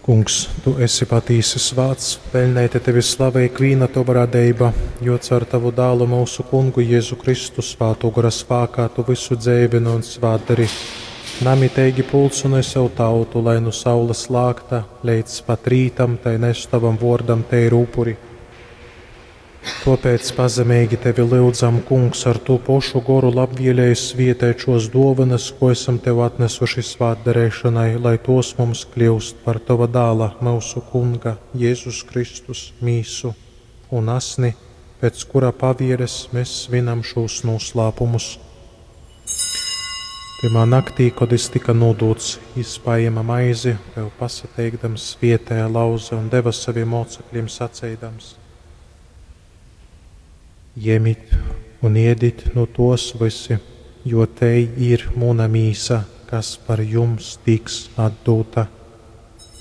Kungs, tu esi patīsi svāts, peļneita tevi slava ikvīna tova radeiba, jo caur tavu dālu mūsu kungu Jēzu Kristu svātō gora spākā tu visu dzeivini un svātdari. Namiteigi pulcynoj sev tautu, lai nu saules lākta leidz pat rītam tai nes tavam vōrdam teiru upuri. Tōpēc pazemeigi tevi lyudzam, Kungs, ar tū pošu goru labvielēji svietēt šos dōvanas, ko esam tev atnesuši svātdareišanai, lai tos mums kļūst par tova dāla, mūsu Kunga, Jēzus Kristus, mīsu un asni, pēc kura pavieres mēs svinam šos noslēpumus. Tymā naktī, kod jis tika nūdūts, jis paēma maizi, tev pasateikdams, svietēja, lauze un deva saviem mocekļiem saceidams: Jemit un ēdit nu tos visi, jo tei ir muna mīsa, kas par jums tiks atdūta.